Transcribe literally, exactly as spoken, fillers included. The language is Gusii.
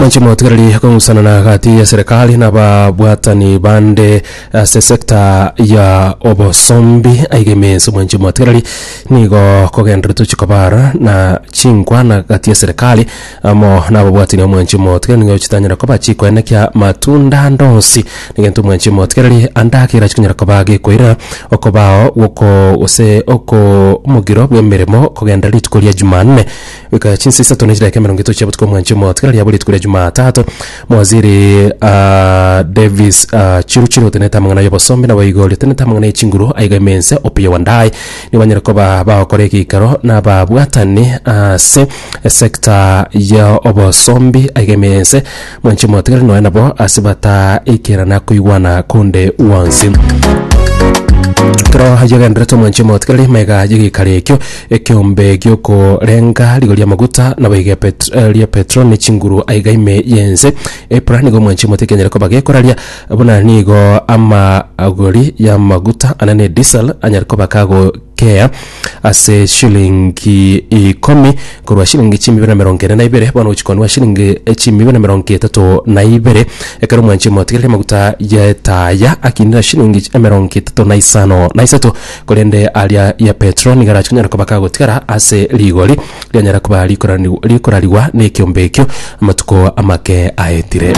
Mwanchi motigereri, kong'usana na gati ya serikali na babwatani bande ase sekta ya obosombi aigemense, mwanchi motigereri, nigo kogenderete chikobara na chinkwana gati ya serikali amo na ababwatani. Omwanchi motigereri, nigo chitanyara koba chikoenekia matunda ndonsi nigento, mwanchi motigereri, andakera chikonyara koba gekoira okobao goko gose oko omogiro bwa emeremo kogenda rituko ria Jumanne goika chinsa isato na chidakika emerongo etato chia botuko. Mwanchi motigereri, abo rituko ria Jumatatu, mwaziri uh, Davis uh, Chiruchiro otenete amang'ana y'obosombi nabo igo riotenete amang'ana y'echinguru aiga emense Opiyo Wandayi nibanyare koba bagokora egeikaro na ababwatani ase esekta ya obosombi aiga emense. Mwanchi motigereri, noe nabo ase bataikerana koigwana konde wonsi kero yagenderete. Omwanchi motigereri, maiga yegeikaro ekio ekiombe giokorenga rigori amaguta nabo iga pet, eh, ria petrol ne chinguru aiga ime yense EPRA nigo, omwanchi mote, kenyere koba gekoraria buna nigo amagori ya maguta anene diesel anyare koba kagokea ase shilingi ikomi korwa shilingi chimi na mirongo ene na ibere bono gochikonwa shilingi chimi na mirongo etato na ibere, ekero, omwanchi motigereri, amaguta ya etaya akinira shilingi emirongo etato na isano na isato, korende aria ya petrol nigo arachikonyara koba kagotigara ase rigori rianyara koba rikorani- rikorariwa na ekiombe ekio amatuko amake aetire.